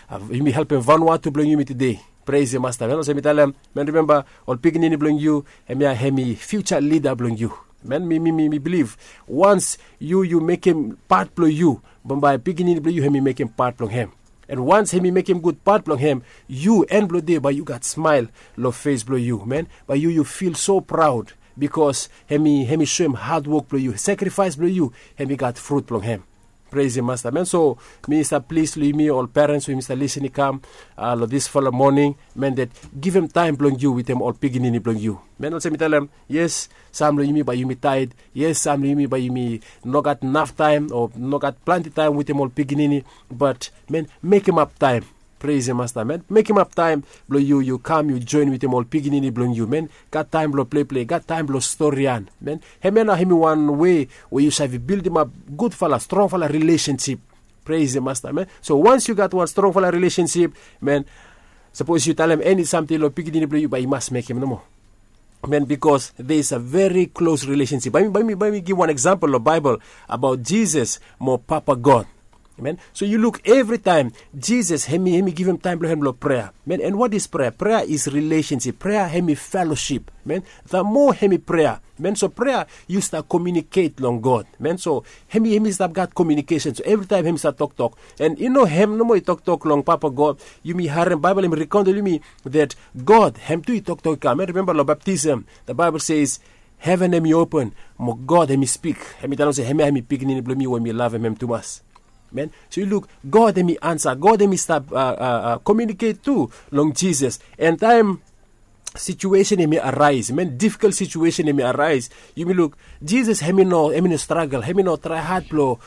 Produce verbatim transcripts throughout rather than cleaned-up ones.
Yumi helpem vanua tu blong yumi tude. Pres ya masta men olsem mi talem men rimemba ol pikinini blong yu. Hemia hemi fiuja lida blong yu. Men mi mi mi bilif wans yu yu mekem pat blong yu, bambae pikinini blong yu hemi mekem pat blong hem. An wans hemi mekem gud pat blong hem, yu en blong de bae yu gat smael long fes blong yu men, bae yu yu fil so praod. Bikos hemi soem hadwok blong yu sakrifaes blong yu, hemi gat frut blong hem. Pres ya masta men so mi stap plis long yumi ol perens we yumi stap lisin i kam long disfala moning, men det givim taem blong yu wetem ol pikinini blong yu. Men olsem mi talem, yes, sam long yumi bae yumi taed. Yes, sam long yumi bae yumi no gat naf taem o no gat plante taem wetem ol pikinini. Bat men, mekemap taem. Pres ya masta men, mekemap taem blong yu yu kam yu joen wetem ol pikinini blong yu men, gat taem blong pleple gat taem blong storian men. Hemia nao hemi wan wei we yu save bildimap gudfala strongfala rilesensip. Pres ya masta men, so wans yu gat wan strongfala rilesensip, men, sapos yu talem eni samting long pikinini blong yu bae i mas mekem nomo. Men bikos de is a veri klos rilesensip bae mi bae mi givim wan eksampol long baebol abaot jisas mo papa god. Men so yu luk evritaem jisas hemi givim taem blong hem long prea. Men an wat is prea prea is rilesensip prea hemi felosip. Men, the mo hemi prea men so prea yu stap komiuniket long god men so hemi hemi stap gat komiunikesen so evritaem hemi stap toktok. An i no hem nomo i toktok long papa god. Yumi harem baebol hemi rikondel yumi det god hem tu i toktok i kam men rimemba long baptism, the baebol ses heven hem i open mo god hem i spik. Hem i talem olsem hemia hem i pikinini blong mi we mi lavem hem tumas. Men so yu luk god hem i ansa god hem i stap komiuniket tu long jisas. An taem situesen hem i araes men difikol situesen hem i araes, yumi luk jisas hem i no hem i no stragel hem i no trae had blong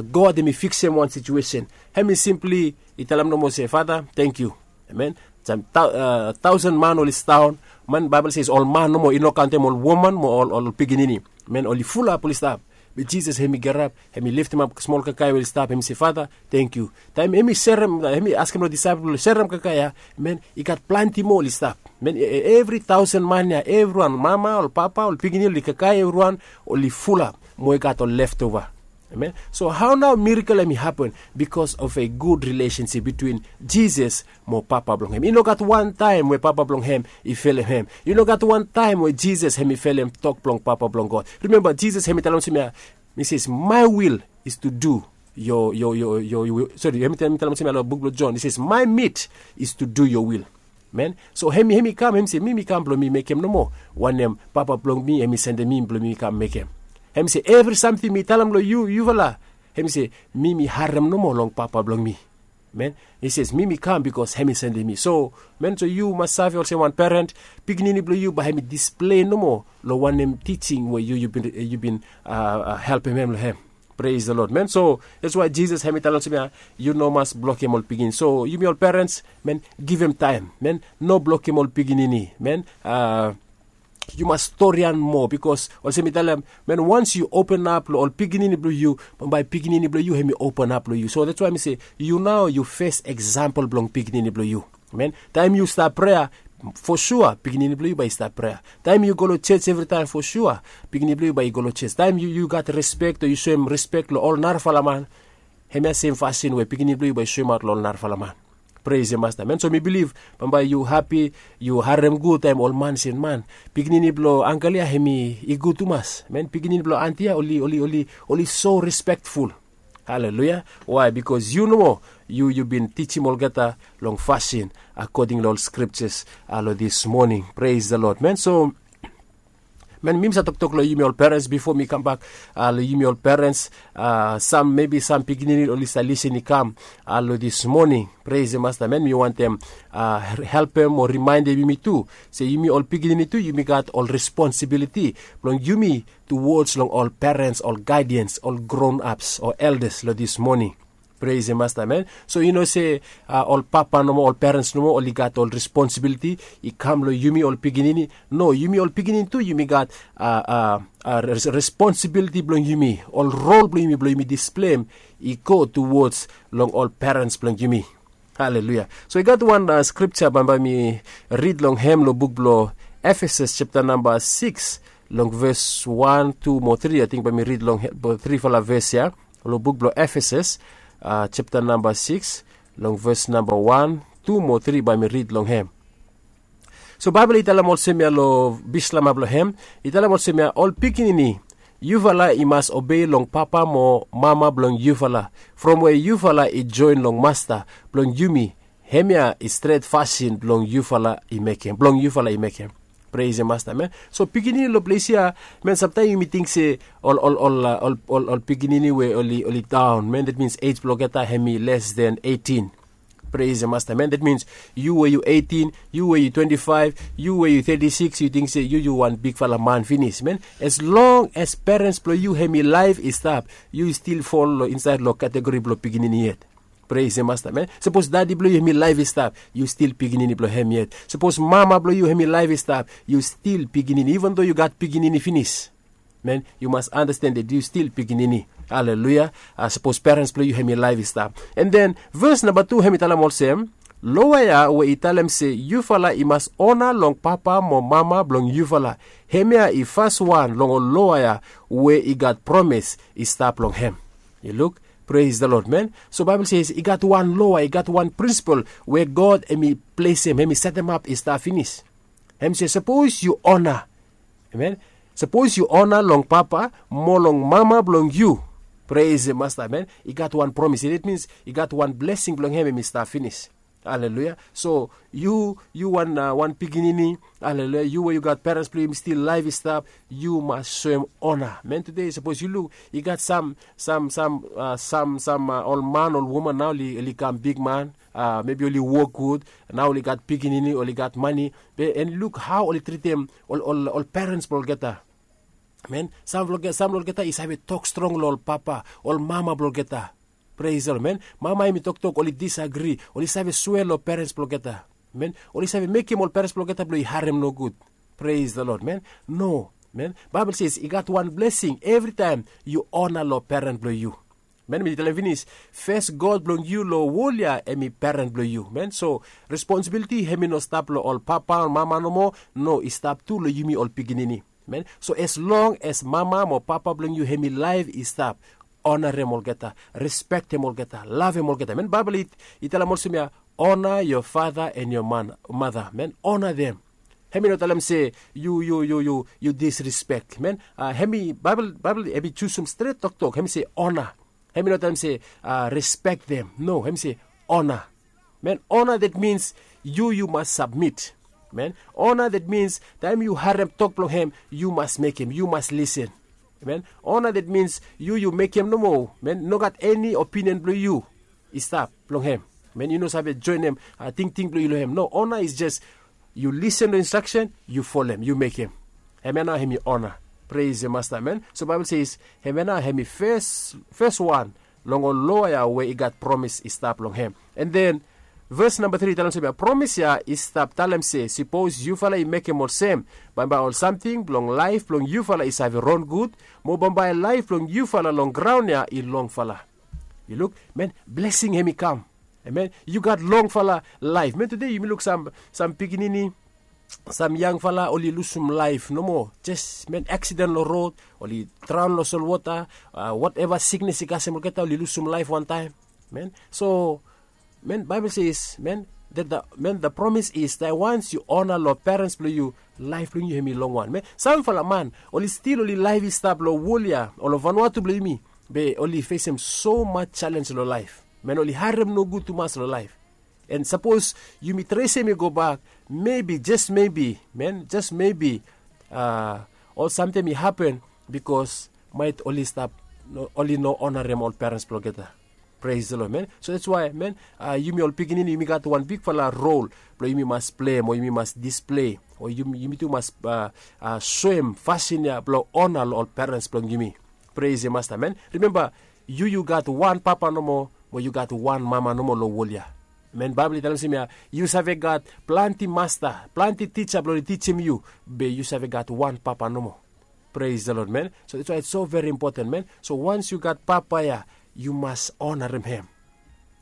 god hem i fiksim wan situesen. Hem i simpli i talem nomo se fata, tangkiu. Amen. Taosen man oli sidaon man baibel ses ol man nomo i no kantem ol woman mo ol pikinini. Men oli fulap oli stap. Be jisas hem i gerap hem i liftimap smol kakae we oli stap hem i se fata, tangkiu. Taem hem i serem hem i askem long disaepel blong serem kakae ya, men i gat plante moa oli stap. Men evri taosen man ya evriwan mama ol papa ol pikinini oli kakae evriwan oli fulap mo i gat ol leftova. Amen. So hao nao mirakel hem i hapen? Bikos of a gud rilesensip bitwin jisas mo papa blong hem i no gat wantaem we papa blong hem i felem hem. I no gat wantaem we jisas hem i felem tok blong papa blong god. Rimemba jisas hem i talem olsem ya, mi ses my will is to do yo yo yo yo sori hem i talem olsem ya long buk blong jon i ses my mit is to do yo will. Men so hem i hem i kam hem i se mi mi kam blong mi mekem nomo wanem papa blong mi hem i sendem mi blong mi kam mekem. Hem i se evri samting mi talem long yu yufala hem i se mi mi harem nomo long papa blong mi. Men i ses mi mi kam bikos hem i sendem mi so men so yu mas save olsem wan peren pikinini blong yu bae hem i displei nomo long wanem tijing we yu yu bin yu bin helpem hem long hem. Pres the lod men so dats wae jisas hem i talem olsem ya, yu no mas blokem ol pikinini so yumi ol perens men givim taem men no blokem ol pikinini men. Yu mas storian moa bikos olsem mi talem men wans yu openap long ol pikinini blong yu bambae pikinini blong yu hem i openap long yu so dats wae mi se yu nao yu fes eksampol blong pikinini blong yu. Men taem yu stap prea fo sua pikinini blong yu bae i stap prea. Taem yu go long joj evritaem fo sua pikinini blong yu bae i go long joj taem yu gat respek o yu soem respek long ol narafala man. Hemia sem fasin we pikinini blong yu bae i soemaot long ol narafala man. Pres ya masta men so mi bilif bambae yu hapi yu harem gud taem ol man sem man pikinini blong angel ya hem i gud tumas men pikinini blong anti ya oli oli oli oli so respektful. Haleluya. Wae bikos yu nomo yu yu bin tijim olgeta long fasin akoding long ol skriptas long dis moning pres the lod men so men mi mi save toktok long yumi ol perens bifo mi kambak long yumi ol perens. Sam mebi sam pikinini oli save lisin i kam long dis moning. Pres ya masta men mi wantem helpem o rimaendem yumi tu se yumi ol pikinini tu yumi gat ol responsibiliti blong yumi tuwods long ol perens ol gaidians ol gron aps o eldas long dis moning. Pres ya masta men so i no se ol papa nomo ol perens nomo oli gat ol responsibiliti i kam long yumi ol pikinini. No yumi ol pikinini tu yumi gat responsibiliti blong yumi ol rol blong yumi blong yumi displeim i go tuwods long ol perens blong yumi. Haleluya. So i gat wan skripta bambae mi rid long hem long buk blong efesus septa namba sikis long ves wan tu mo tri ating bae mi rid long trifala ves ya long buk blong efesus septa namba sikis long ves namba wan, tu mo tri bae mi rid long hem. So baebol i talem olsem ya long bislama blong hem, i talem olsem ya, ol pikinini, yufala i mas obei long papa mo mama blong yufala, from we yufala i joen long Masta blong yumi. Hemia i stret fasin blong yufala i mekem blong yufala i mekem. Pres ya Masta men. So pikinini long ples ya, men samtaem yumi ting se ol ol ol ol pikinini we oli oli daon men, dat mins ej blong olgeta hem i les den eitin. Pres ya Masta men, dat mins yu we yu eitin, yu we yu twenti faef, yu we yu teti sikis, yu ting se yu yu wan bigfala man finis men. As long as perens blong yu hem i laef i stap, yu stil fol long insaed long kategori blong pikinini yet. Pres ya Masta men. Sapos dadi blong yu hem i laef i stap, yu stil pikinini blong hem yet. Sapos mama blong yu hem i laef i stap, yu stil pikinini iven do yu gat pikinini finis. Men, yu mas anasten dat yu stil pikinini. Aleluya. Sapos perens blong yu hem i laef i stap, an den ves namba tu hem i talem olsem, loa ya we i talem se yufala i mas ona long papa mo mama blong yufala, hemia i faswan long ol loa ya we i gat promes i stap long hem. Yu luk. Pres da lod men. So baebol se i gat wan loa, i gat wan prinsipol we God hem i plesem, hem i setemap i stap finis. Hem se sapos yu ona, amen, sapos yu ona long papa mo long mama blong yu, pres ya Masta men, i gat wan promis ya, dat mins i gat wan blesing blong hem hem i stap finis. Aleluya. So yu yu wan wan pikinini, aleluya, yu we yu gat perens blong yu hem i stil laef i stap, yu mas soem ona men. Tude sapos yu luk, i gat sam sam sam sam ol man ol woman nao oli kam bigman, mebi oli wok gud, nao oli gat pikinini, oli gat mane, be an luk hao oli tritem ol ol perens blong olgeta. Men, sam blong olgeta i save tok strong long ol papa, ol mama blong olgeta. Pres da lod men. Mama hem i toktok oli disagri, oli save swea long perens blong olgeta. Men, oli save mekem ol perens blong olgeta blong i harem nogud. Pres da lod men. No, men, baebol se i gat wan blesing evritaem yu ona long peren blong yu. Men mi talem finis, fes god blong yu long wol ya hem i peren blong yu men. So responsibiliti hem i no stap long ol papa ol mama nomo. No, i stap tu long yumi ol pikinini. Men, so as long as mama mo papa blong yu hem i laef i stap, onarem olgeta, respektem olgeta, lavem olgeta men. Baebol i talem olsem ya, ona yo fada an yo mada men, ona dem. Hem i no talem se yu yu yu yu yu disrespek men. Hem i baebol hem i jusum stret toktok hem i se ona. Hem i no talem se respektem, no, hem i se ona. Men, ona dat mins yu yu mas sabmit. Men, ona dat mins taem yu harem tok blong hem, yu mas mekem, yu mas lisen. Men, ona dat mins yu yu mekem nomo men, nogat eni opinion blong yu i stap long hem. Men, yu no save joenem tingting blong yu long hem. No, ona is jes yu lisen long instraksen, yu folem, yu mekem. Hem ya nao hem i ona. Pres ya masta men. So baebol se is hem ya nao hem i fes wan long ol loa ya we i gat promis i stap long hem. An den ves namba tri i talem se bae promis ya i stap talem se sipos yufala i mekem olsem, bambae ol samting blong laef blong yufala i save ron gud, mo bambae laef blong yufala long graon ya i longfala. Yu luk, men, blesing hem i kam. Amen. Yu gat longfala laef men. Tude yumi luk sam pikinini, sam yangfala oli lusum laef nomo, jes men, aksiden long rod, oli draon long solwota, wateva siknes i kasem olgeta oli lusum laef wantaem. Men, so men, baebol se is men, da promis is da wans yu ona long perens blong yu, laef blong yu hem i longwan men. Samfala man oli stil oli laef i stap long wol ya o long vanua tu blong yumi, be oli fesem somas jalenj long laef. Men, oli harem nogud tumas long laef. An sapos yumi tresem i gobak, mebi jes mebi men, jes mebi ol samting i hapen, bikos maet oli stap, oli no onarem ol perens blong olgeta. Pres da lod men. So dats wae men, yumi ol pikinini yumi gat wan bigfala rol blong yumi mas plei mo yumi mas displei o yumi tu mas soem fasin ya blong ona long ol perens blong yumi. Pres ya masta men. Rimemba, yu yu gat wan papa nomo, mo yu gat wan mama nomo long wol ya. Men, baebol i talem olsem ya, yu save gat plante masta, plante tija blong oli tijim yu, be yu save gat wan papa nomo. Pres da lod men. So dats wae its so veri impoten men. So wans yu gat papa ya, yu mas onarem hem.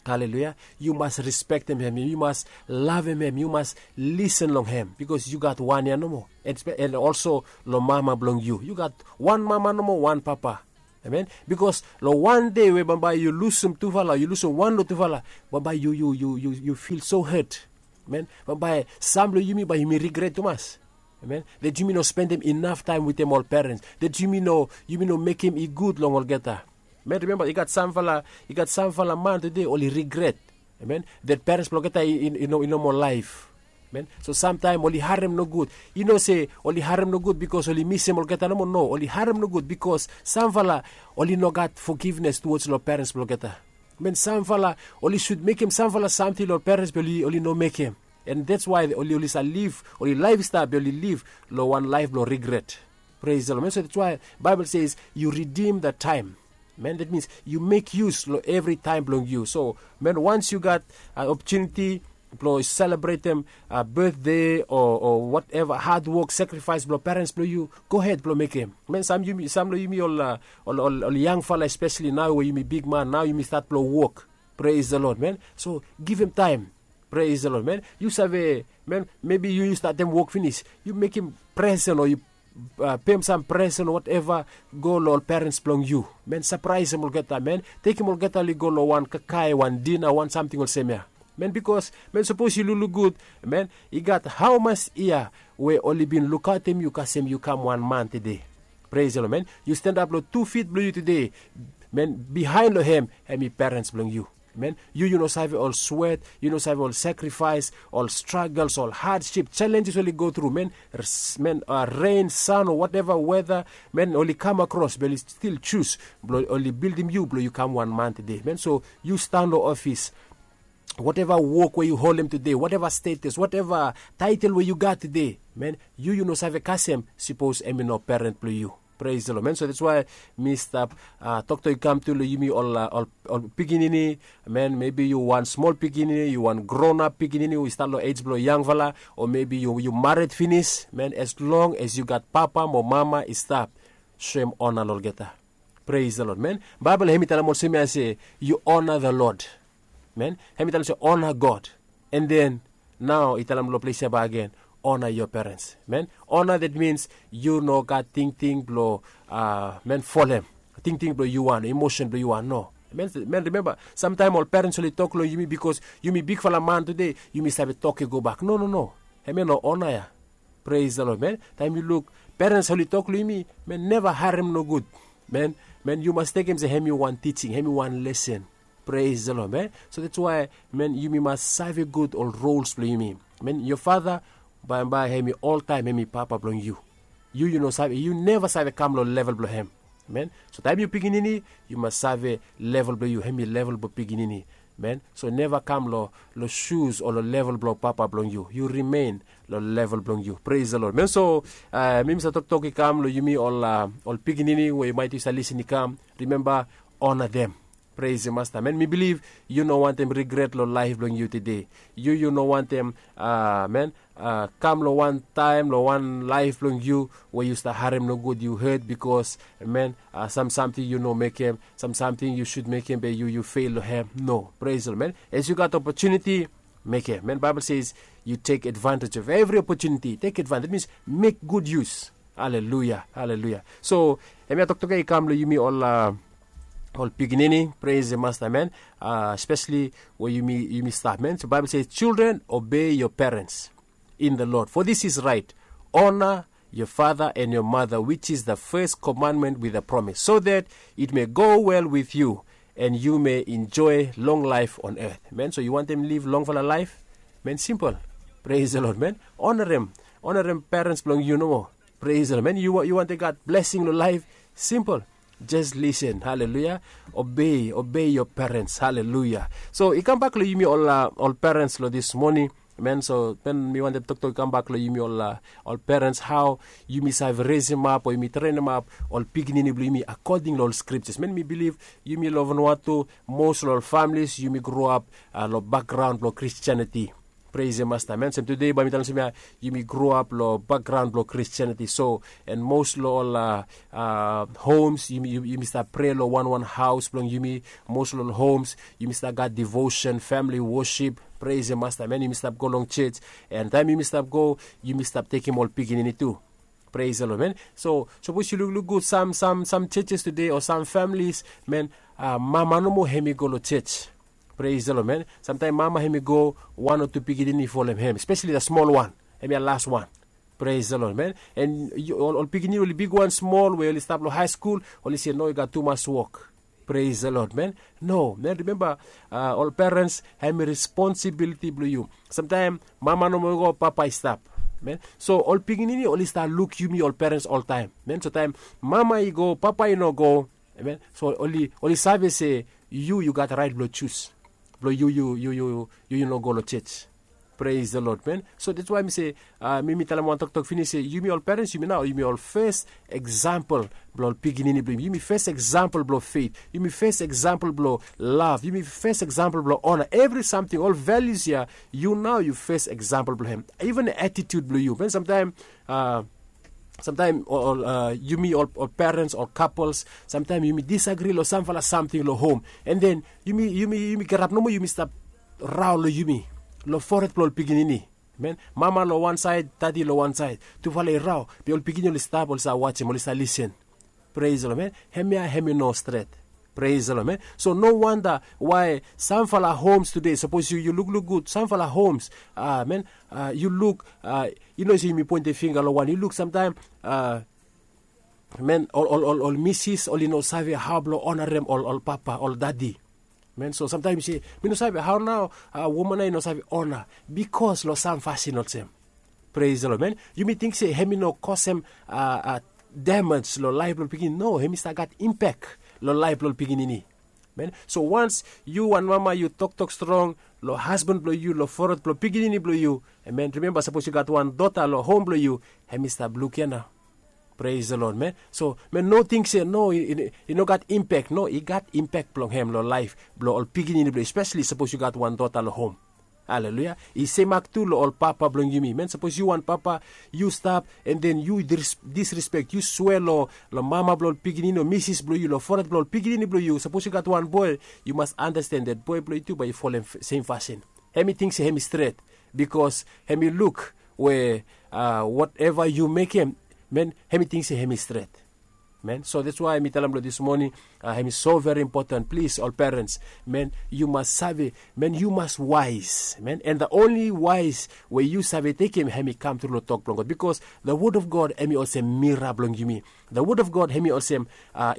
Haleluya. Yu mas respektem hem, yu mas lavem hem, yu mas lisen long hem, bikos yu gat wan ya nomo. An olso long mama blong yu, yu gat wan mama nomo wan papa. Amen. Bikos long wan dei we bambae yu lusum tufala, yu lusum wan long tufala, bambae yu yu yu yu yu fil so het. Amen. Bambae sam long yumi bae yumi rigret tumas. Amen. Dat yumi no spendem inaf taem wetem ol perens, dat yumi no yumi no mekem i gud long olgeta. Amen. Rimemba i gat samfala i gat samfala man tude oli rigret. Amen. Dat perens blong olgeta i no moa laef. Amen. So samtaem oli harem nogud. I no se oli harem nogud bikos oli misem olgeta nomo. No, oli harem nogud bikos samfala oli no gat fogivnes tuwoj long perens blong olgeta. Amen. Samfala oli sud mekem samfala samting long perens blong oli oli no mekem. And that's why oli oli sa liv oli laef i stap be oli liv long wan laef blong rigret. Praise the Lord. So that's why Bible says you redeem the time. Man, that means you make use long evri taem blong yu. So man, once yu gat an opportunity blong selebretem birthday o whatever hard work sacrifice blong perens blong yu, go hed blong mekem. Man, sam yumi sam long yumi ol ol ol yangfala especially nao we yumi bigman nao yumi stat blong wok. Praise the Lord, man. So givim taem. Praise the Lord, man. Yu save, man, maybe yu yu statem wok finis, yu mekem presen o yu pem sam presen o whatever, go long ol perens blong yu. Man, sapraesem olgeta, man. Tekem olgeta oli go long wan kakae wan dina wan samting olsem ya. Man, bikos man, sapos yu lukluk gud, man, i gat haomas yia we oli bin lukaotem yu kasem yu kam wan man tede. Praise the Lord, man. Yu stendap long tu fit blong yu tude. Man, bihaen long hem hem i perens blong yu. Man, yu yu no save ol swet, yu no save ol sakrifaes, ol stragels, ol hadsip, selenjes oli go tru, man. Man, ren, san o woteva weta, man, oli kam akros be oli stil jus blong oli bildim yu blong yu kam wan man tede, man. So yu stan long ofis, woteva wok we yu holem tude, woteva stetes, woteva taetel we yu gat tude, man, yu yu no save kasem sipos em i no peren blong yu. Pres long man. So dats wae mi stap toktok i kam tu long yumi ol pikinini. Man, mebi yu wan smol pikinini, yu wan gronap pikinini we i stat long ej blong yangfala, o mebi yu mared finis. Man, as long as yu gat papa mo mama i stap, soem ona long olgeta. Pres long lod man. Baibel hem i talem olsem ya se, yu ona the lod. Man, hem i talem se ona god. An den nao i talem long ples ya bagen, ona yoa perens. Man, ona dat mins yu no gat tingting blong man folem tingting blong yu wan o emosen blong yu wan no. Man, rimemba samtaem ol perens oli tok long yumi bikos yumi bigfala man tude, yumi save tok i gobak no no no. Hem ya no ona ya. Pres long lod man. Taem yu luk perens oli tok long yumi, man neva harem nogud. Man, man yu mas tekem se hem i wan tijing hem i wan lesen. Pres long lod man. So dats wae man yumi mas save gud ol rols blong yumi. Man, yoa fata baembae hem i oltaem hem i papa blong yu. Yu yu no save yu neva save kam long level blong hem. Man, so taem yu pikinini, yu mas save level blong yu hem i level blong pikinini. Man, so neva kam long long sus o long level blong papa blong yu yu rimen long level blong yu. Pres long lod man. So mi mi save toktok i kam long yumi ol pikinini we yu maet yu save lisin i kam, rimemba, ona dem. Pres masta man, mi biliv yu no wantem rigret long laef blong yu tude. Yu yu no wantem man kam long wan taem long wan laef blong yu we yu stap harem nogud yu het bikos man, sam samting yu no mekem, sam samting yu sud mekem be yu yu fel long hem no. Pres long man. As yu gat opotuniti, mekem man baibel ses, yu tek advantage of evri opotuniti tek advantage mins mek gud yus. Aleluya aleluya. So hem ya toktok ya i kam long yumi ol pikinini pres masta man. Espesali we yumi stap man so baibel ses children obei yoa perens in the lod for this is rait, ona yoa fata an yoa mata wich is the fes komandment with a promis so that it me go wel with yu, an yu me injoe long laef on eth man so yu wantem liv longfala laef. Man simpel. Pres long lod man. Onarem onarem perens blong yu nomo. Pres long lod man yu wantem gat blesing long laef. Simpel. Jes lisen haleluya. Obei obei yoa perens haleluya. So i kambak long yumi ol perens long dis moning. Man so man mi wantem toktok i kambak long yumi ol perens hao yumi save resimap o yumi trenimap ol pikinini blong yumi akoding long ol skriptas man mi biliv yumi long vanua tu, mos long ol familis yumi groap long bakgraon blong kristianiti. Pres masta man sem tude bae mi talem olsem ya, yumi groap long bakgraon blong kristianiti so an mos long ol homs yumi stap prea long wanwan haos blong yumi. Mos long ol homs yumi stap gat divosen famili wosip. Pres masta man yumi stap go long joj. An taem yumi stap go, yumi stap tekem ol pikinini tu. Pres the lord man. So sapos yu lukluk gud sam sam sam churches tude o sam familis man, mama nomo hem i go long church. Pres the lord man. Samtaim mama hem i go wan o tu pikinini folem hem spesali the smol wan. Hem ya las wan. Pres the lord man. En ol pikinini oli bigwan smol we oli stap long hae skul, oli se no i gat tumas wok. Pres the lord man. No man rimemba, ol perens hem i responsibiliti blong yu. Samtaim mama nomo i go papa i stap. Man so ol pikinini oli stap luk yumi ol perens oltaim. Man so taim mama i go papa i no go, man so oli save se yu yu gat rait blong jus blong yu yu yu yu yu no go long church. Pres the lord man. So dats wai mi se mi mi talem wan toktok finis se yumi ol perens yumi nao yumi ol fes eksampel blong ol pikinini blong yumi yumi fes eksampel blong feit, yumi fes eksampel blong lav, yumi fes eksampel blong ona evri samting ol valius ya. Yu nao yu fes eksampel blong hem. Iven atitut blong yu man samtaim samtaim ol yumi ol perens ol kapels samtaim yumi disagri long samfala samting long hom. An den yumi yumi yumi gerap nomo yumi stap raon long yumi long foret blong ol pikinini. Man mama long wan saed dadi long wan saed tufala i raon. Be ol pikinini oli stap oli save wasim oli save lisen. Pres long man. Hemia hem i no stret. Pres long man. So no wanda wai samfala homs tude sapos yu lukluk gud samfala homs, man, yu luk i no se yumi pointe finga long wan yu luk samtaim man ol ol ol misis oli no save hao blong onarem ol ol papa ol dadi. Man so samtaim yu se mi no save hao nao woman ya i no save ona bikos long sam fasin olsem. Pres long man. Yumi ting se hem i no kosem damej long laef blong pikinini no hem i stap gat impek long laef blong pikinini. Man so wans yu wan mama yu toktok strong long hasban blong yu long foret blong pikinini blong yu. Man rimemba sapos yu gat wan dota long hom blong yu hem i stap luk ya nao. Pres long lod man. So man no ting se no i no gat impek no i gat impek blong hem long laef blong ol pikinini blong yu spesali sapos yu gat wan dota long hom. Aleluya. I semak tu long ol papa blong yumi man sapos yu wan papa yu stap an den yu disrispek yu swe long mama blong ol pikinini o misis blong yu long foret blong ol pikinini blong yu sapos yu gat wan boe yu mas anasten dat boe blong yu tu bai yu folem sem fasin. Hem i ting se hem i stret bikos hem i luk we woteva yu mekem man hem i ting se hem i stret. Man so dats wai mi talem long dis moning hem i so veri impoten plis ol perens. Man yu mas save man yu mas wais man an da onli wais we yu save tekem hem i kam tru long tok blong god bikos da wod of god hem i olsem mira blong yumi. Da wod of god hem i olsem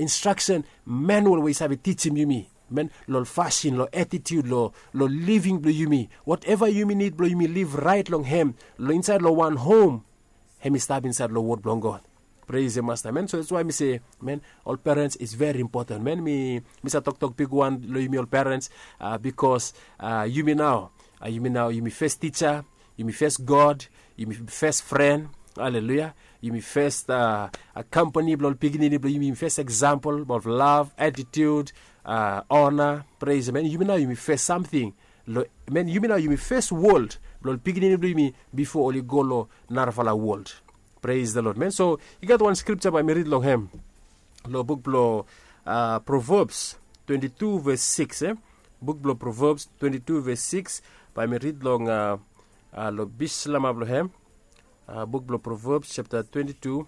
instraksen manuel we i save tijim yumi man long fasin long atitut long living blong yumi woteva yumi nid blong yumi liv rait long hem long insaed long wan hom. Hem i stap insaed long wod blong god. Pres ya masta man so dats wai mi se man ol perens is veri impoten man mi mi save toktok bigwan long yumi ol perens bikos yumi nao yumi nao yumi fes tija, yumi fes god, yumi fes fren. Aleluya. Yumi fes kampani blong ol pikinini blong yumi yumi fes eksampel of lav atitut, ona. Pres man yumi nao yumi fes samting long man yumi nao yumi fes wol blong ol pikinini blong yumi bifo oli go long narafala wol. Pres the lod man so i gat wan skripta bai mi rid long hem long buk blong provebs twenti tu ves siks e buk blong provebs twenti tu ves siks bai mi rid long long bislama blong hem. Buk blong provebs japta twenti tu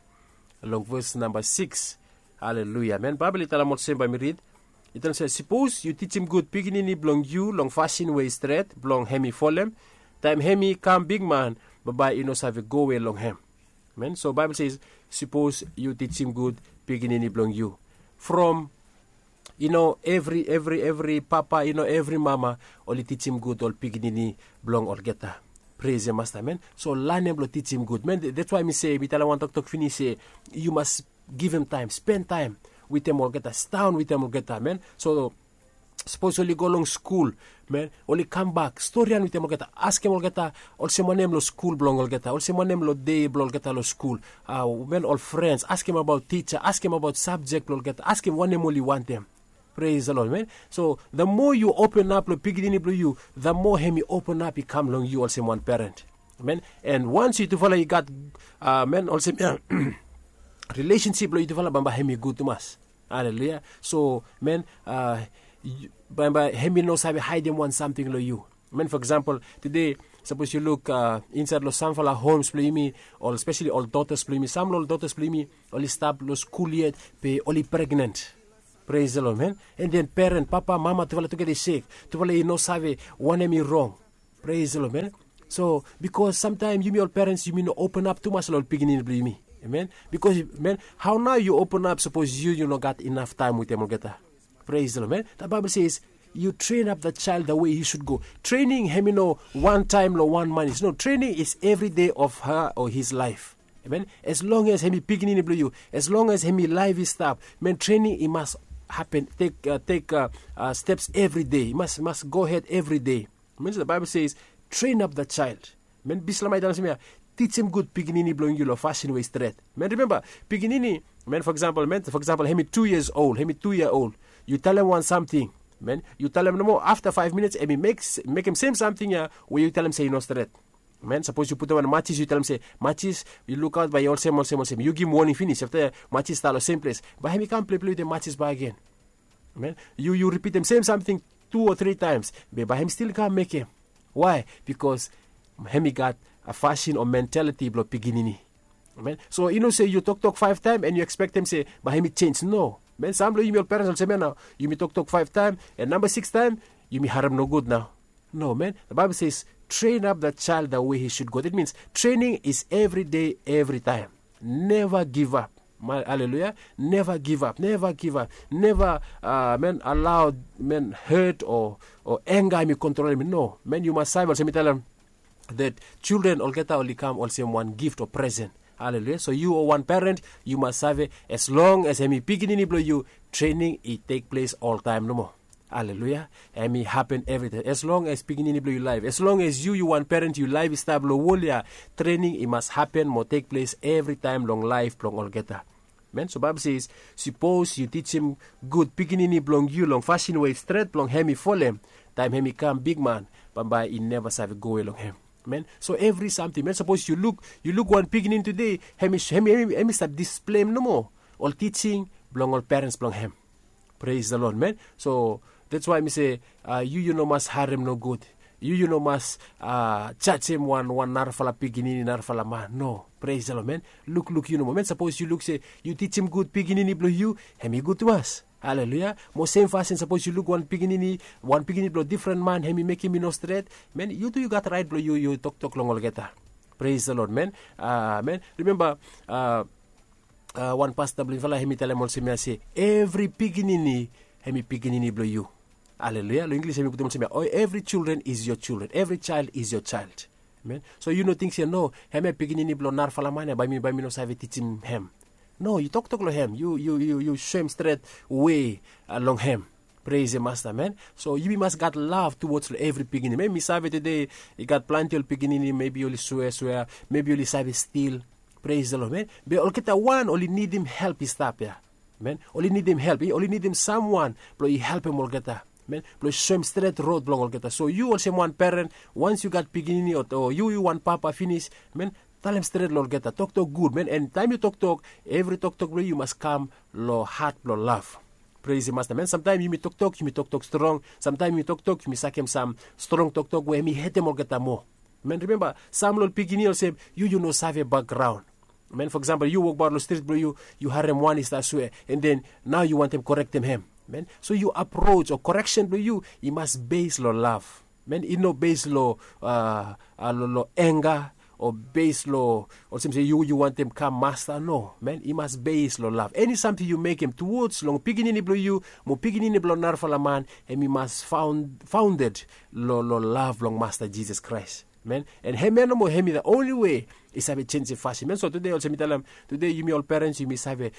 long ves namba siks. Aleluya man baibel i talem olsem bai mi rid. I talem se sipos yu tijim gud pikinini blong yu long fasin we i stret blong hem i folem taim hem i kam bigman bambae i no save gowe long hem. Man so baibel se sipos yu tijim gud pikinini blong yu from i no evri evri evri papa i no evri mama oli tijim gud ol pikinini blong olgeta. Pres ya masta man so lanem blong tijim gud man dats wai mi se mi talem wan toktok finis se yu mas givim taem spen taem witem olgeta sidaon witem olgeta man so sapos oli go long skul man oli kambak storian witem olgeta askem olgeta olsem wanem long skul blong olgeta olsem wanem long dei blong olgeta long skul. Man ol frens askem abaot tija askem abaot sabjek blong olgeta askem wanem oli wantem. Pres the lod man so the moa yu openap long pikinini blong yu the moa hem i openap i kam long yu olsem wan peren. Man an wans yu tufala i gat man olsem ya rilesensip blong yu tufala bamba hem i gud tumas. Aleluya. So man bamba hem i no save haidem wan samting long yu. Men, fo eksampel, tude, sapos yu luk insaed long samfala homs blong yumi, ol spesali ol dotas blong yumi, sam long ol dotas blong yumi oli stap long skul yet, be oli pregnen. Pres long, men. An den peren, papa, mama, tufala tugeta i sek. Tufala i no save wanem i rong. Pres long, men. So, bikos samtaem yumi ol perens yumi no openap tumas long ol pikinini blong yumi. Amen. Bikos, men, hao nao yu openap sapos yu yu no gat inaf taem wetem olgeta? Pres long, men. Da baibel ses, yu tren ap da chael da we hi sud go. Trening hem i no wan taem long wan manis. No, trening is evri de of ha o his laef. Amen. As long as hem i pikinini blong yu, as long as hem i laef i stap, men, trening i mas hapen, tek tek steps evri de, i mas mas go hed evri de. Min se da baibel ses, tren ap da chael. Men, bisla mai talem se mi ya, tijim gud pikinini blong yu long fasin we i stret. Men, rimemba, pikinini, men, fo eksampel, men, fo eksampel, hem i tu yias ol, hem i tu yia ol, yu talem wan samting, men, yu talem nomo, afta faef minits hem i mekem sem samting ya we yu talem se i no stret. Men, sapos yu putum wan majis, yu talem se, majis, yu lukaot bae i olsem olsem olsem, yu givim woning finis, afta majis stap long sem ples, bae hem i kam pleplei wetem majis bakegen. Men, yu yu ripitim sem samting tu o tri taems, be bae hem stil kam mekem. Wae? Bikos hem i gat a fasin o mentaliti blong pikinini. Men, so i no se yu toktok faef taem an yu ekspektem se bae hem i jenj. No. Men, sam blong yumi ol perens olsem ya nao, yumi toktok faef taem, an namba siks taem yumi harem nogud nao. No, men, da baibel ses, tren ap da chael da we hi sud go. Dat mins trening is evri de, evri taem. Neva givap. Aleluya. Neva givap, neva givap, neva, men, alao, men, het o enga hem i kontrolem. No, men, yu mas save olsem mi talem, dat jildren olgeta oli kam olsem wan gift o presen. Aleluya. So yu o wan peren, yu mas save, as long as hem i pikinini blong yu, trening i tek ples oltaem nomo. Aleluya. Hem i hapen evritaem, as long as pikinini blong yu laef, as long as yu yu wan peren, yu laef i stap long wol ya, trening i mas hapen mo tek ples evritaem long laef blong olgeta. Men, so baibel ses, sipos yu tijim gud pikinini blong yu long fasin we i stret blong hem i folem, taem hem i kam bigman, bambae i neva save gowe long hem. Men, so evri samting, men, sapos yu luk, yu luk wan pikinini tude, hem i hem i hem i stap displeim nomo ol tijing blong ol perens blong hem. Pres da lod, men. So, dats wae mi se, yu yu no mas harem nogud. Yu yu no mas jajem wan wan narafala pikinini, narafala man. No. Pres da lod, men. Lukluk yu nomo, men, sapos yu luk se yu tijim gud pikinini blong yu, hem i gud tumas. Aleluya. Mo sem fasin, sapos yu luk wan pikinini, wan pikinini blong difren man, hem i mekem i no stret, men, yu tu yu gat raet blong yu yu toktok long olgeta. Pres da lod, men. Men, rimemba, wan pasta blong yufala hem i talem olsem ya se, evri pikinini hem i pikinini blong yu. Aleluya. Long Inglis hem i putum olsem ya, evri jildren is yo jildren, evri jael is yo jael. Men, so yu no ting se, no, hem ya pikinini blong narafala man ya, bae mi bae mi no save tijim hem. No, yu toktok long hem, yu yu yu soem stret we long hem. Pres masta, men. So yumi mas gat lav tuwods long evri pikinini. Men, mi save tude i gat plante ol pikinini, mebi oli swea swea, mebi oli save stil. Pres da lod, men. Be olgeta wan oli nidim help i stap ya. Men, oli nidim help, oli nidim samwan blong i helpem olgeta, men, blong i soem stret rod blong olgeta. So yu olsem wan peren, wans yu gat pikinini o yu yu wan papa finis, men, talem stret long olgeta, toktok gud, men. An taem yu toktok, evri toktok blong yu i mas kam long hat blong lav. Pres masta, men. Samtaem yumi toktok yumi toktok strong, samtaem yumi toktok yumi sakem sam strong toktok we hem i hetem olgeta moa. Men, rimemba, sam long ol pikinini olsem, yu yu no save bakgraon. Men, fo eksampel, yu wokbaot long strit blong yu, yu harem wan i stap swea, an den nao yu wantem korektem hem. Men, so yu aproj o koreksen blong yu i mas bes long lav. Men, i no bes long a long enga o bes long olsem se yu yu wantem kam masta. No, men, i mas bes long lav. Eni samting yu mekem tuwods long pikinini blong yu mo pikinini blong narafala man, hem i mas faonded long lav blong Masta Jisas Kraes. Men, an hem ya nomo hem i da onli we i save jenjem fasin. Men, so tude olsem mi talem, tude yumi ol perens yumi save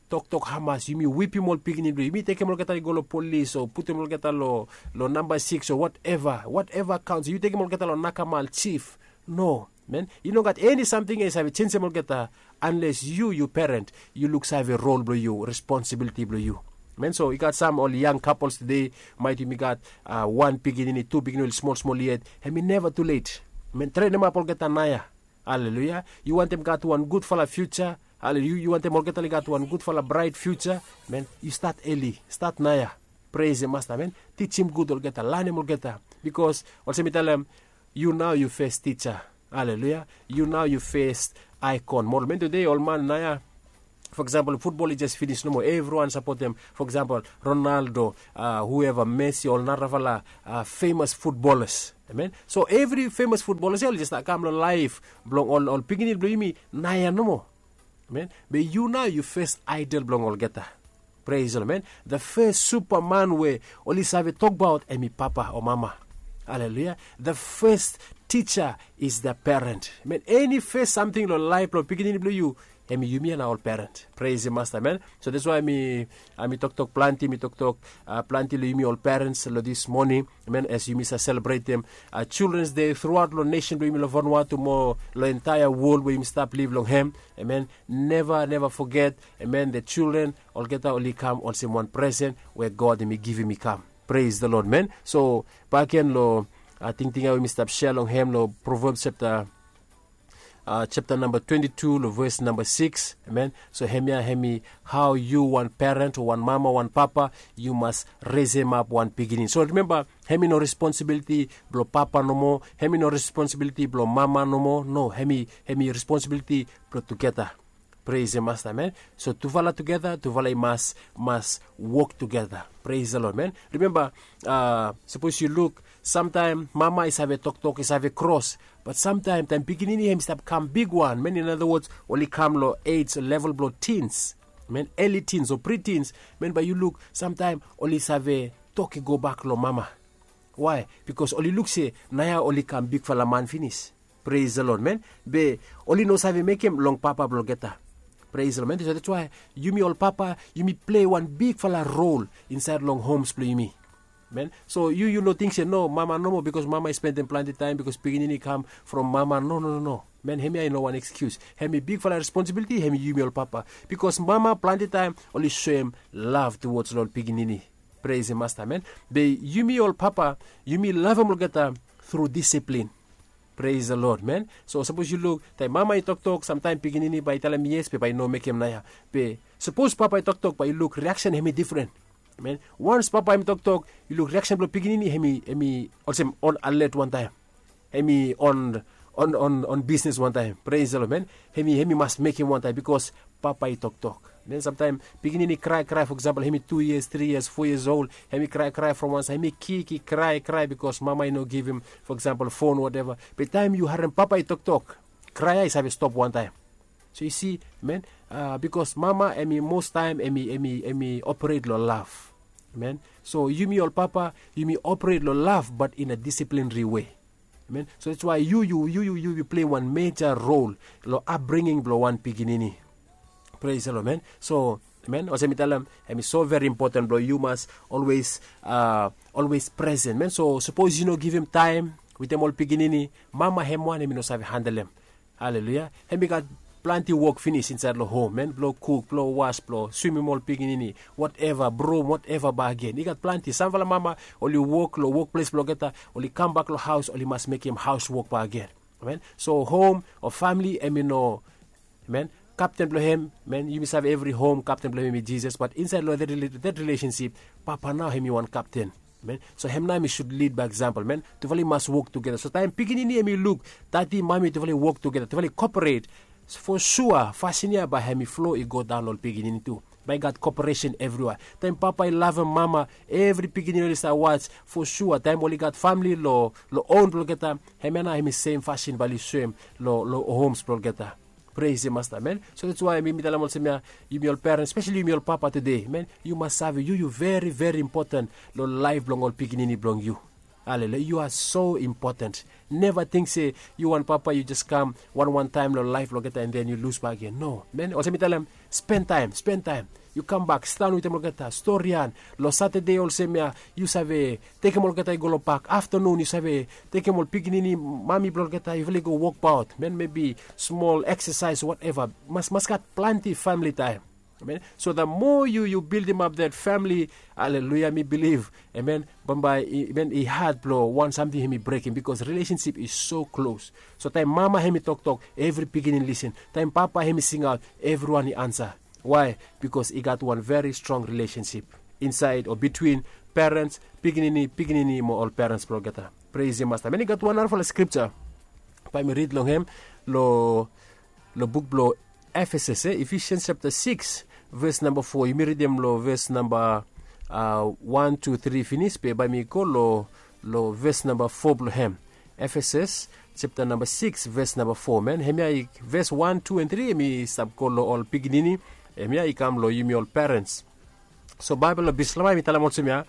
toktok hamas yumi wipim ol pikinini blong yumi, tekem olgeta i go long polis o putum olgeta long namba siks o wateva, wateva kaons, yu tekem olgeta long nakamal, jif. No, men, i no gat eni samting ya i save jenjem olgeta, anles yu yu peren, yu luksave rol blong yu, responsibiliti blong yu. Men, so i gat sam ol yang kapols tude, maet yumi gat wan pikinini, tu pikinini oli smol smol yet, hem i neva tulet. Men, trenemap olgeta naoia. Aleluya. Yu wantem gat wan gudfala fiuja? Aleluya. Yu wantem olgeta oli gat wan gudfala braet fiuja? Men, yu stat eli, stat naoia. Pres masta, men. Tijim gud olgeta, lanem olgeta. Bikos olsem mi talem, yu nao yu fes tija. Aleluya. Yu nao yu fes aikon moral men tude ol man naya. For example, futbol i jes finis nomo, evriwan sapotem. For example, Ronaldo, uh, whoever, Messi, ol narafala uh, famous futbolas. Amen. So evri famous futbolas ya ol jes kam long laif blong ol, ol pikinini blong yumi naya nomo. Amen. Be yu nao yu fes aidol blong olgeta. Praise the Lord, man. The first superman we oli save tokbaot em i papa o mama. Hallelujah. The first teacher is the parent. Man, any first something lo life lo pikinini blong yu, em i yumi ana ol parent. Praise the master, man. So that's why mi, uh, mi toktok planti, mi toktok uh, planti lo yumi ol parents lo this morning. Amen. As yumi sa celebrate them uh, children's day throughout lo nation blong yumi lo Vanuatu mo lo entire world we yumi stap live long hem. Amen. Never, never forget. Amen. The children olgeta oli kam olsem wan presen we God em i givim i kam. Praise the Lord, man. So back again lo uh, tingting ya we mi stap share long hem lo Proverbs chapter uh, chapter number twenty-two lo verse number six. Amen. So hemia hemi how you wan parent o wan mama wan papa you must raise him up wan pikinini. So remember, hemi no responsibility blo papa nomo, hemi no responsibility blo mama nomo. No, hemi hemi responsibility blo tugeta. Praise the master, man. So tufala tugeta, tufala i mas mas work tugeta. Praise the Lord, man. Remember, uh, suppose you look, sometime mama i save toktok, i save cross. But sometime taim pikinini hem i stap kam bigwan, man, in other words, oli kam lo age level blo teens, man, early teens o pre-teens, man, bai yu luk sometime oli save tok i go bak lo mama. Why? Because oli luk se naya oli kam bigfala man finis. Praise the Lord, man. Be oli no save mekem long papa blogeta. Praise the Lord, man. So that's why yumi ol papa, yumi play wan bigfala role inside long homes blo yumi. Man, so yu yu no ting se no mama nomo, because mama i spendem planti taim, because pikinini i kam from mama. No, no, no, no. Man, hemia i no wan excuse. Hemi bigfala responsibility, hemi yumi ol papa. Because mama planti taim oli soem love towards ol pikinini. Praise the master, man. Be yumi ol papa, yumi lavem olgeta through discipline. Praise the Lord, man. So sapos yu luk taim mama i toktok, samtaim pikinini bai i talem yes be bai i no mekem naya. Be sapos papa i toktok, bai yu luk reaction hemi different. Man, once papa hemi toktok, yu luk reaction blo pikinini hemi hemi olsem on alert wantaim. Hemi on on on on business wantaim. Praise the Lord, man. Hemi hemi mas mekem wantaim because papa i toktok. Then samtaim pikinini krai krai, for example, hemi two years, three years, four years old, hemi krai krai from wansaid, hemi kik i krai krai because mama i no givim, for example, phone, whatever. Be taim yu harem papa i toktok, krai ya i save stop wantaim. So yu si, man, uh, because mama hemi most taim hemi hemi hemi operate lo love. Man, so yumi ol papa, yumi operate lo love but in a disciplinary way. Amen. So that's why yu yu yu yu yu yu play wan major role lo upbringing blo wan pikinini. Praise the Lord, man. So, man, olsem mi talem, hemi so very important blo yu mas always uh, always present, man. So sapos yu no givim taim wetem ol pikinini, mama hem wan hemi no save handlem. Haleluya. Hemi gat planti wok finis insaed lo hom, man, blo kuk, blo was, blo swimim ol pikinini, whatever, brum, whatever. Bak agen i gat planti. Samfala mama oli wok lo wokples blogeta, oli kambak lo haos, oli mas mekem haos wok bak agen. Amen. So hom o famili hemi no, amen, kapten blo hem, man, yumi save evri hom kapten blo hem hemi Jisas, but insaed lo that relationship, papa nao hemi wan kapten. Amen. So hem nao hemi sud lid by example, man. Tufala i mas wok tugeta. So taim pikinini hemi luk dadi, mami, tufala i wok tugeta, tufala i cooperate, for sure fasin ya bai hemi flo i go daon lo ol pikinini tu. Bai i gat cooperation evriwea. Taim papa i lavem mama, evri pikinini oli stap was. For sure taim oli gat famili lo lo own blogeta, hemia nao hemi sem fasin bai oli soem lo lo homes blogeta. Praise the master, man. So that's why mi mi talem olsem ya, yumi ol parents, especially yumi ol papa tude, man, yu mas save yu yu very very important lo laef blong ol pikinini blong yu. Haleluya. You are so important. Never think se yu wan papa yu jes kam wan wan taim lo laef blogeta and then yu lus bak agen. No, man, olsem mi talem, spend taim, spend taim. Yu kambak, sidaon wetem olgeta, storian. Lo Satade olsem ya, yu save tekem olgeta i go lo pak. Aftanun yu save tekem ol pikinini, mami blogeta, yufala i go wokbaot, man, maybe smol exercise, whatever. Mas mas gat planti famili taim. Amen. So the more yu yu bildim ap that family, haleluya, mi bilif, amen, bambae, amen, i had blo wan samting hemi brekim, because relationship is so close. So taim mama hemi toktok, evri pikinini lisin. Taim papa hemi singaot, evriwan i ansa. Why? Because i gat wan very strong relationship insaed o bitwin Perens, pikinini, pikinini mo ol perens blong olgeta. Preisim masta. Meni gat wan narafala skripta bae mi rid long hem long long buk blong Efesus, e, Efesians chapter six, ves namba four. Yumi ridim long ves namba wan, tu, tri finis, be bae mi go long long ves namba four blong hem. Efesus chapter namba six, ves namba four, man. Hemia i ves wan, tu, and tri, hemi stap go long ol pikinini. Hemia i kam long yumi ol perens. So Baebol blong Bislama hemi talem olsem ya,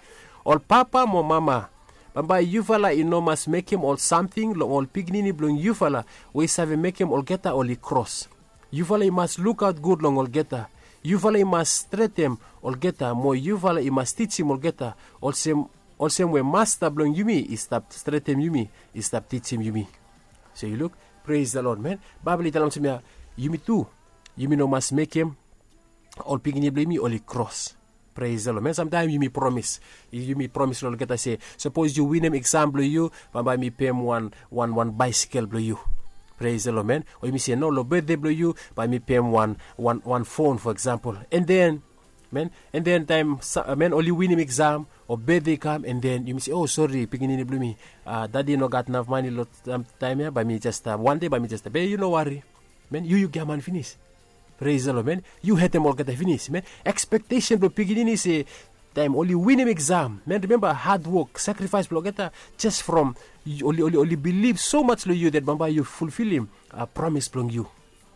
ol papa mo mama, bambae yufala i no mas mekem ol samting long ol pikinini blong yufala we i save mekem olgeta oli kros. Yufala i mas lukaot gud long olgeta. Yufala i mas stretem olgeta mo yufala i mas tijim olgeta, olsem olsem we Masta blong yumi i stap stretem yumi, i stap tijim yumi. So yu luk, pres the Lord, man. Baebol i talem olsem ya, yumi tu, yumi no mas mekem ol pikinini blong yumi oli kros. Pres the Lord, man. Samtaem yumi promis, yumi promis long olgeta se, sapos yu winim eksam blong yu, bambae mi pem wan wan wan baesikel blong yu. Pres the Lord, man. O yumi se no, long betde blong yu bae mi pem wan wan wan fon, fo eksampol. And then, man, and then taem, man, oli winim eksam o betde i kam, and then yumi se, o, sori pikinini blong mi, dadi i no gat naf mane long taem ya, bae mi jes, wan dei bae mi jes, be yu no wari, man, yu yu giaman finis. Pres the Lord, man. Yu hetem olgeta finis, man. Ekspektesen blong pikinini se taem oli winim eksam, man, rimemba hadwok, sakrifaes blong olgeta, jes from oli oli oli bilif somaj long yu that bambae yu fulfilim promis blong yu.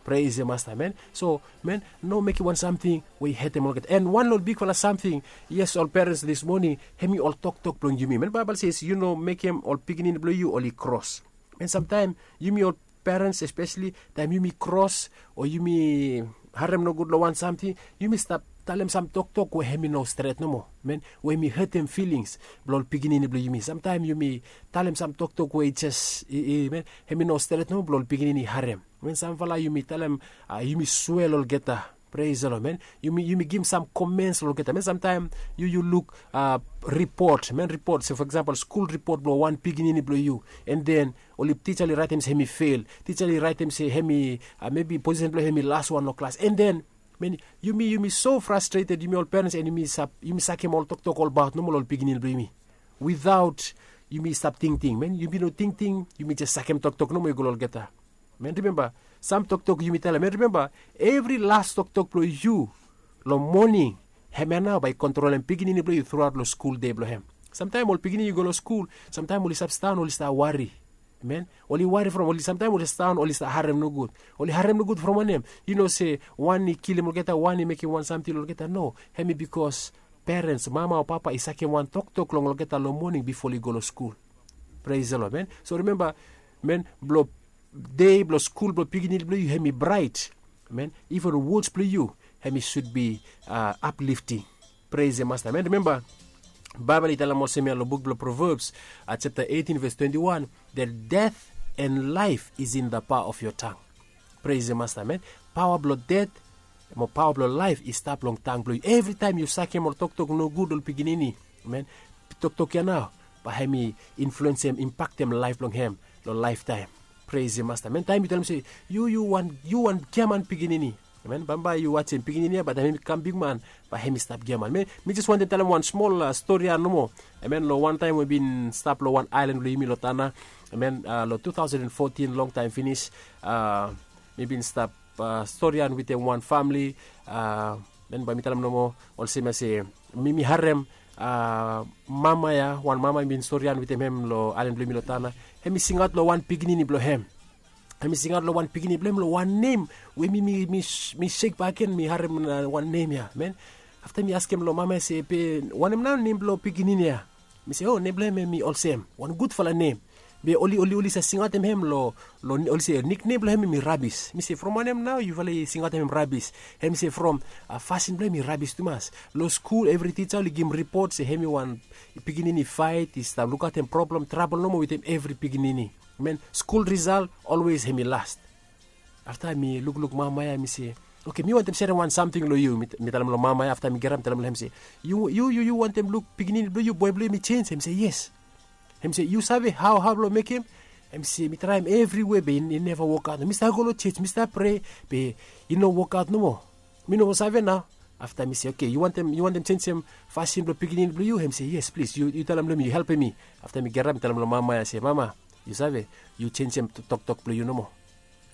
Preisim Masta, man. So, man, no mekem wan samting we i hetem olgeta. And wan long ol bigfala samting, yes, ol perens dis moning, hemi ol toktok blong yumi, man. Baebol se yu no mekem ol pikinini blong yu oli kros. Man, samtaem yumi ol perens, espeseli taem yumi kros o yumi harem nogud long wan samting, yumi stap talem sam toktok we hemi no stret nomo, man, we hemi hetem filings blong ol pikinini blong yumi. Samtaem yumi talem sam toktok we i jes, i, i, man, hemi no stret nomo blong ol pikinini i harem. Man, samfala yumi talem, yumi swea long olgeta. Pres the Lord, man. Yumi yumi givim sam komens long olgeta, man. Samtaem yu yu luk ripot, man, ripot, se fo eksampol skul ripot blong wan pikinini blong yu, and then oli tija oli raetem se hemi fel, tija oli raetem se hemi, mebi posisen blong hem i laswan long klas, and then, man, yumi yumi so frastreted, yumi ol perens, and yumi sap yumi sakem ol toktok olbaot nomo long ol pikinini blong yumi, witaot yumi stap tingting, man. Yumi no tingting, yumi jes sakem toktok nomo i go long olgeta. Man, rimemba, sam toktok yumi talem, man, rimemba, evri las toktok blong yu long moning, hemia nao bae i kontrolem pikinini blong yu truaot long skul dei blong hem. Samtaem ol pikinini i go long skul, samtaem oli stap stanbaot, oli stap wari. Man, oli wari from oli, samtaem oli stanbaot, oli stap harem nogud. Oli harem nogud from wanem? Yu no se wan i kilim olgeta, wan i mekem wan samting long olgeta. No, hemi bikos perens, mama o papa, i sakem wan toktok long olgeta long moning bifo oli go long skul. Preisim Lod, man. So rimemba, man, blong dei blong skul blong pikinini blong yu hemi braet, man, iven wods blong yu hemi sud bi aplifting. Preisim Masta, man. Rimemba, Baebol i talem olsem ya long buk blong Proverbs, chapta eitin, ves twenti wan, that death and life is in the power of your tongue. Preisim Masta, man. Paoa blong det mo paoa blong laef i stap long tang blong yu. Evritaem yu sakem ol toktok nogud long ol pikinini, man, toktok ya nao bae hemi influensem, impaktem laef blong hem long laeftaem. Preisim Masta, man. Taem yu talem se yu yu wan, yu wan giaman pikinini, man, bambae yu wajem pikinini ya, bae taem hemi kam bigman, bae hemi stap giaman. Mi jes wantem talem wan smol stori ya nomo. Man, long wan taem we mi bin stap long wan aelan blong yumi long Tanna, man, long tu taosen fotin, longtaem finis, mi bin stap storian wetem wan famle. Man, bae mi talem nomo olsem ya se mi mi harem mama ya, wan mama mi bin storian wetem hem long aelan blong yumi long Tanna. Hemi singaot long wan pikinini blong hem. Hemi singaot long wan pikinini blong hem long wan nem we mi mi mi sek bakegen mi harem wan nem ya, man. Afta mi askem long mama ya se, be wanem nao nem blong pikinini ya? Mi se, o, nem blong hem hemi olsem, wan gudfala nem. Be oli oli oli save singaotem hem long, long, oli se niknem blong hem hemi rabis. Mi se, from wanem nao yufala i singaotem hem rabis? Hemi se from fasin blong hem i rabis tumas. Long skul evri tija oli givim ripot se hemi wan pikinini i faet, i stap lukaotem problem, trabol nomo wetem evri pikinini. Man, skul risal olwes hemi las. Afta mi lukluk mama ya, mi se, oke, mi wantem serem wan samting long yu. Mi talem long mama ya, afta mi girap mi talem long hem se, yu yu yu wantem luk pikinini blong yu, boe blong yu hemi jenj? Hemi se yes. Hemi se yu save hao hao blong mekem? Hemi se mi traem evriwe be i neva wokaot. Mi stap go long jej, mi stap prea, be i no wokaot nomo. Mi no save nao. Afta mi se, oke, yu wantem yu wantem jenjem fasin blong pikinini blong yu? Hem se, yes, plis, yu talem long mi, yu helpem mi. Afta mi gerap mi talem long mama ya se, mama, yu save, yu jenjem toktok blong yu nomo.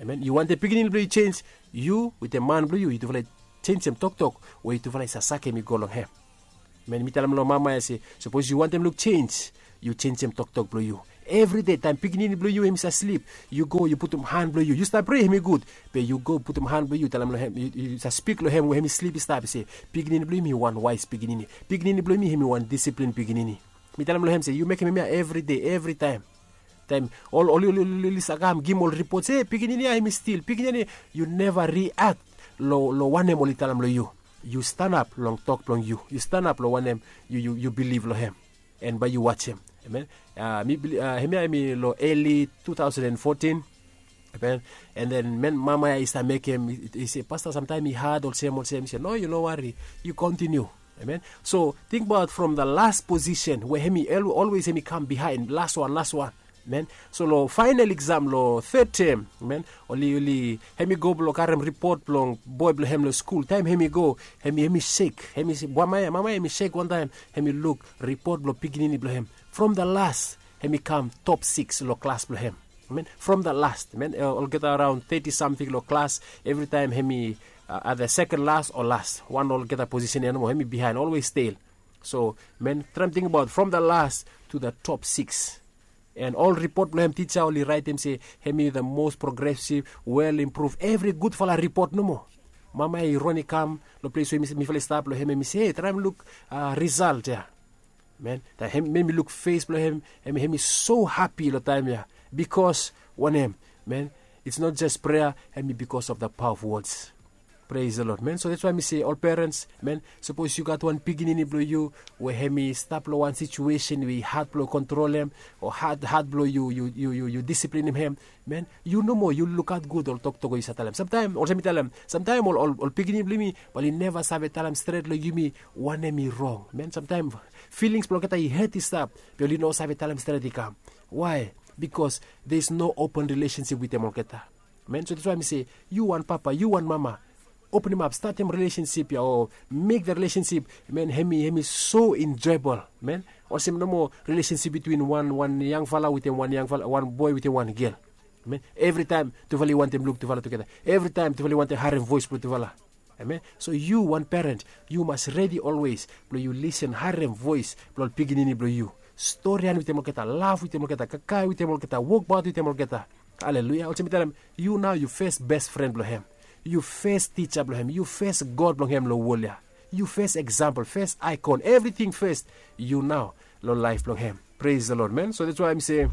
Amen. Yu wantem pikinini blong yu jenj, yu wetem man blong yu, yutufala jenjem toktok we yutufala i save sakem i go long hem. Amen. Mi talem long mama ya se, sapos yu wantem luk jenj, yu jenjem toktok blong yu. Evride taem pikinini blong yu hem i save slip, yu go yu putum han blong yu, yu stap prea hem i gud, be yu go putum han blong yu, talem long hem, yu save spik long hem we hem i slip i stap, i se, pikinini blong yu hem i wan waes pikinini. Pikinini blong yu hem i wan disiplin pikinini. Mi talem long hem se, yu mekem hemia evride, evritaem. Taem ol oli oli oli oli save kam givim ol ripot se, pikinini ya hem i stil, pikinini ya, yu neva riak long wanem oli talem long yu. Yu stanap long tok blong yu, yu stanap long wanem yu bilif long hem. An bae yu wajem. Amen. Hemia hem i long eli two thousand and fourteen. Amen. An then mama ya i stap mekem, i se, pasta, samtaem i had olsem olsem. I se, no, yu no wari, yu kontiniu. Amen. So tingbaot from the las posisen we hem i olwes hem i kam bihaen, laswan, laswan. Amen. So long faenal eksam long third tem, amen, oli oli hem i go blong karem ripot blong boe blong hem long skul. Taem hem i go, hem i sek, hem i se, mama ya, mama ya hem i sek wantaem hem i luk ripot blong pikinini blong hem. From the las, hem i kam top sikis long klas blong hem. Amen. From the las, amen, olgeta araon teti samting long klas. Evritaem hem i, ada seken las o las, wan olgeta posisen ya nomo, hem i bihaen, olwes stel. So, amen, traem tingbaot from the las tu the top sikis. An ol ripot blong hem, tija oli raetem se hem i the mos progresiv, wel impruv, evri gudfala ripot nomo. Mama ya i ron i kam long ples we mifala i stap long hem, hem i se, e, traem luk risalt ya. Amen. Taem hem i luk fes blong hem, hem i so hapi long taem ya. Bikos wanem? Amen. It's not just prea, hem i bikos of the paoa of wods. Pres the lod, amen. So dats wae mi se, ol perens, amen, sapos yu gat wan pikinini blong yu we hem i stap long wan situesen we i had blong kontrolem, o had had blong yu yu yu yu disiplinim hem, amen, yu nomo yu lukaot gud ol toktok we yu save talem. Samtaem olsem mi talem, samtaem ol ol pikinini blong yumi bae oli neva save talem stret long yumi wanem i rong, amen. Samtaem filings blong olgeta i het i stap, be oli no save talem stret i kam. Wae? Bikos there is no open rilesensip wetem olgeta. Amen. So dats wae mi se, yu wan papa, yu wan mama, openemap, statem rilesensip ya o mek da rilesensip, amen, hem i hem i so enjoebol, amen. Olsem nomo rilesensip bitwin wan wan yangfala wetem wan yangfala, wan boe wetem wan gel. Amen. Evritaem tufala i wantem luk tufala tugeta. Evritaem tufala i wantem harem voes blong tufala. Amen. So yu wan peren, yu mas redi olwes blong yu lisen, harem voes blong ol pikinini blong yu. Storian wetem olgeta, laf wetem olgeta, kakae wetem olgeta, wokbaot wetem olgeta. Aleluia. Olsem mi talem, yu nao yu fes bes fren blong hem. Yu fes tija blong hem, yu fes god blong hem long wol ya. Yu fes eksampol, fes aikon, evriting fes. Yu nao long laef blong hem. Pres the lod, amen. So dats wae mi se,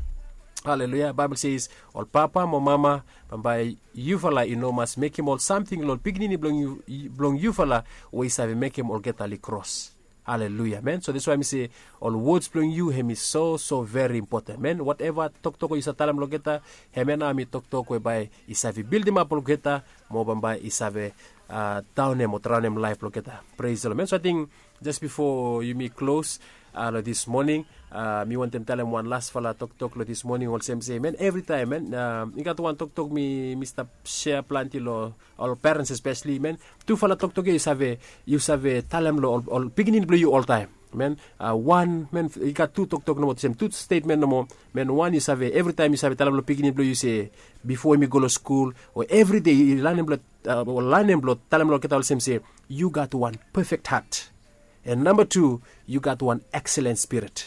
aleluia, baebol ses, ol papa mo mama, bambae yufala i no mas mekem ol samting long ol pikinini blong yufala we i save mekem olgeta oli kros. Aleluia, amen. So dats wae mi se, ol wods blong yu hem i so so veri impoten, amen. Wateva toktok we yu save talem long olgeta, hemia nao hem i toktok we bae i save bildimap olgeta mo bambae i save daonem o draonem laef blong olgeta. Pres the lod, amen. So ating jes bifo yumi klos long dis moning, mi wantem talem wan lasfala toktok long dis moning olsem se, amen, evritaem, amen, i gat wan toktok mi mi stap sea plante long ol perens espeseli, amen. Tufala toktok ya yu save, yu save talem long ol pikinini blong yu oltaem, amen. Wan, amen, i gat tu toktok nomo olsem, tu stetmen nomo, amen. Wan, yu save, evritaem yu save talem long pikinini blong yu se, bifo hem i go long skul o evride, yu lanem blong, o lanem blong talem long olgeta olsem se, yu gat wan pefek hat. An namba tu, yu gat wan ekselen spirit.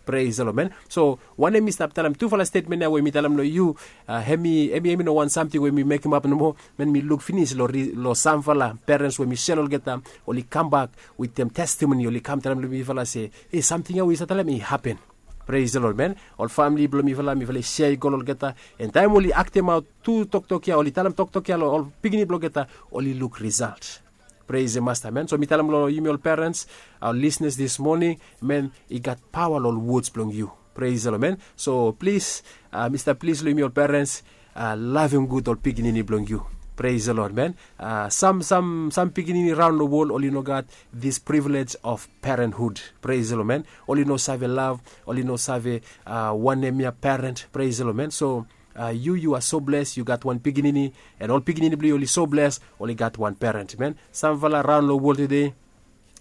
Pres the lod, amen. So wanem mi stap talem, tufala stetmen ya we mi talem long yu, hem i hem i hem i no wan samting we mi mekemap nomo. Amen. Mi luk finis long samfala perens we mi sel olgeta, oli kambak wetem testemoni, oli kam talem long mifala se, e, samting ya we yu save talem i hapen. Pres the lod, amen. Ol famili blong mifala, mifala i sea i go long olgeta, an taem oli aktemaot tu toktok ya, oli talem toktok ya long ol pikinini blong olgeta, oli luk risalt. Pres the masta, amen. So mi talem long yumi ol perens, ol lisnas dis moning, amen, i gat paoa long ol wods blong yu. Pres the lod, amen. So plis, mi stap plis long yumi ol perens, lavem gud ol pikinini blong yu. Pres the lod, amen. Sam sam sam pikinini raon long wol oli no gat dis privilej of perenhud. Pres the lod, amen. Oli no save lav, oli no save wanem ya peren. Pres the lod, amen. So Yu yu a so bles yu gat wan pikinini, en ol pikinini blong yu oli so bles oli gat wan peren. Men, samfala raon long wol tude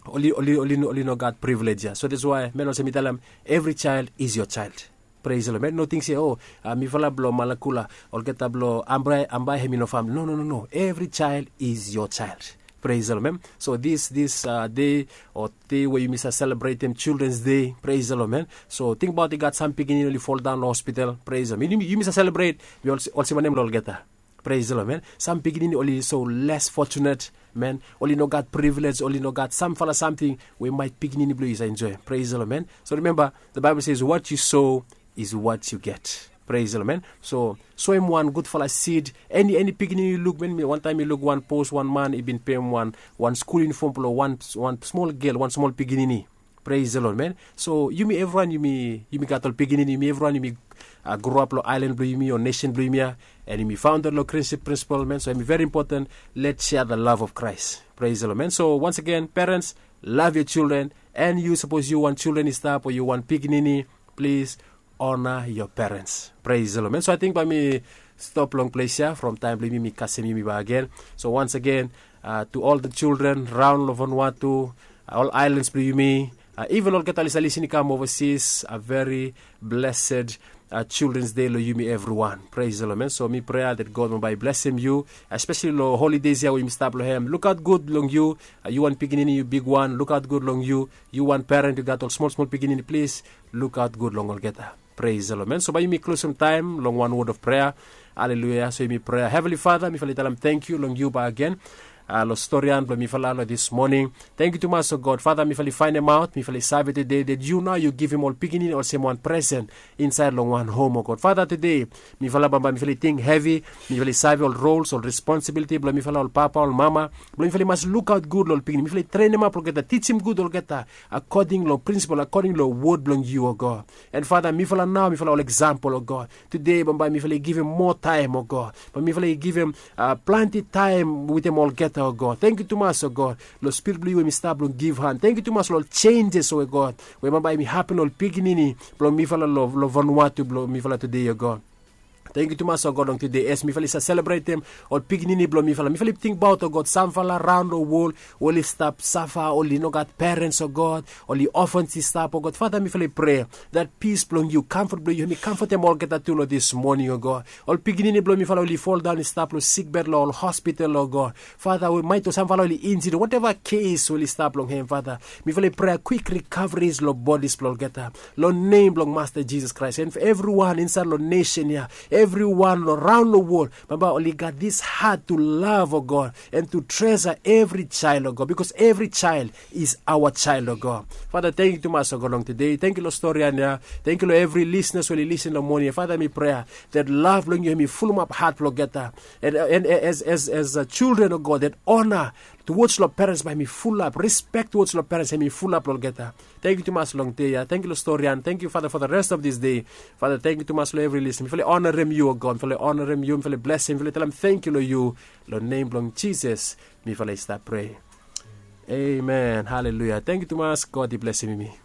oli oli oli oli no gat privilej ya. So that's why men olsem mi talem, evri child is your child. Praise the Lord. Men no ting se, o, mifala blong Malakula, olgeta blong Ambai, Ambai hem i no famili. No, no, no, no. Every child is your child. Praise the Lord, man. So this this uh, day or day where you miss a celebrating Children's Day, praise the Lord, man. So think about, i gat sam pikinini oli fall down hospital, praise the Lord. Yumi miss a celebrate, we also also nem olgeta. Praise the Lord, man. Sam pikinini oli so less fortunate, man. Oli no gat privilege, oli no gat samfala samting we might pikinini blong yu sa enjoy. Praise the Lord, man. So remember, the Bible says, what you sow is what you get. Praise the Lord, man. So soem wan gudfala seed. Eni eni pikinini yu luk, man. Mi wan taem mi luk wan post, wan man i bin pem wan wan skul yunifom blong wan wan smol gel, wan smol pikinini. Praise the Lord, man. So yumi evriwan yumi yumi gat ol pikinini, yumi evriwan yumi uh, grow up long island blong yumi o nation blong yumi ya, and yumi founded long Christian principle, man. So yumi very important. Let's share the love of Christ. Praise the Lord, man. So once again, parents, love your children, and you suppose you want children i stap o you want pikinini, please honor your parents. Praise the Lord, man. So I think by me stop long place here from time blong yumi mi kasem yumi back again. So once again, uh, to all the children round lo Vanuatu, uh, all islands blong yumi, uh, even olgeta oli sa lisin i kam overseas, a very blessed uh, Children's Day lo yumi evriwan. Praise the Lord, man. So mi prea that God mo bai blessem yu, especially lo holidays ya we yumi stap lo hem. Luk aut gud long yu, uh, yu wan pikinini, yu big wan, luk aut gud long yu. Yu wan parent yu gat ol smol smol pikinini, please luk aut gud long olgeta. Praise the Lord, man. So bai yumi klosem taem long wan word of prayer. Haleluya. So yumi prea, Heavenly Father, mifala i talem thank you long yu back again. Uh, lo storian blong mifala lo this morning. Thank you tumas o God. Father, mifala i faenemaot, mifala i save tude that yu nao yu givim ol pikinini olsem wan presen insaed long wan hom o God. Father, tude mifala bambae mifala i ting hevi, mifala i save ol roles, ol responsibiliti blong mifala ol papa ol mama, blong mifala i mas lukaot gud long ol pikinini. Mifala i trenemap olgeta, tijim gud olgeta akoding long prinsipol, akoding long wod blong yu o God. And Father, mifala nao mifala ol eksampol o God. Tude bambae mifala i givim moa taem o God, bae mifala i givim uh, planti taem wetem olgeta o God. Thank you tumas o God, lo spirit blong yu we mi stap long givhan. Thank you tumas lo ol changes o God we bambae mi hapen lo ol pikinini blong mifala lo, lo Vanuatu blong mifala tude o God. Thank you tumas o God, long tude as mifala i sa selebretem ol pikinini blong mifala, mifala i tingbaot o God samfala raon lo wol oli stap safa, oli no gat parents o God, oli ofens i stap o God. Father, mifala i prea that peace blong yu, comfort blong yu hem i comfortem olgeta tu lo this morning o God. Ol pikinini blong mifala oli fall down i stap lo sikbed lo ol hospital o God. Father, we maet o samfala oli injured, whatever case oli stap long hem, Father, mifala i prea quick recoveries lo bodies blong olgeta, lo nem blong Master Jesus Christ. And for everyone insaed lo nation ya, everyone lo raon lo wol, bambae oli gat this heart to love o God and to treasure every child o God, because every child is our child o God. Father, thank you tumas o God long tude. Thank you lo storian ya. Thank you lo every listeners we oli listen lo moning ya. Father, mi prea that love blong yu hem i fulumap heart blong olgeta. And, and as, as, as uh, children o God, that honor towards lo parents bae hem i fulap, respect towards lo parents hem i fulap lo olgeta. Thank you tumas long dei ya. Thank you lo storian. Thank you, Father, for the rest of this day. Father, thank you tumas lo every listener. Mifala i honorem yu o God, mifala i honorem yu, mifala i blesem, mifala i talem thank you lo yu. Lo nem blong Jesus mifala i stap prea. Amen. Haleluya. Thank you tumas. God i blesem yumi.